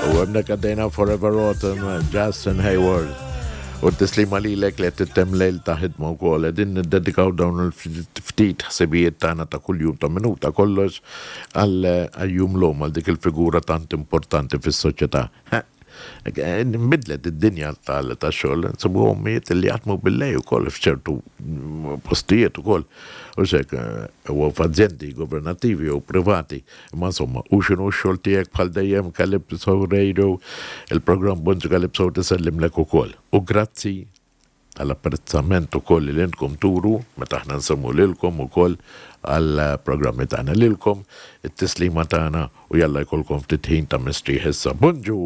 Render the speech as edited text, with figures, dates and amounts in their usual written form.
U hemmhekk għaddejna Forever Autumn, Justin Hayward. U t-tislima lilek li qed tittemm lejl ta' ħidma wkoll. Qegħdin niddedikaw dawn il-ftit ħsibijiet tagħna ta' kuljum ta' minuta kollox għal jum l-omm, għal dik il-figura tant importanti fis-soċjetà. Nbidlet id-dinja tax-xogħol, nsibu ommijiet li jaħdmu bil-lejl ukoll f'ċertu postijiet ukoll. U xek, u f'azjendi governattivi u privati. Imma insomma, u x'inhu x-xogħol tiegħek bħal dejjem Calypso Radio, il-programm Bonġu Calypso tisellimlek ukoll. U grazzi tal-apprezzament ukoll li intkom turu meta aħna nsemmu lilkom ukoll għall-programmi tagħna lilkom, it-tislima tagħna u jalla jkollkom ftit ħin ta' mistrieħ issa. Bonġu!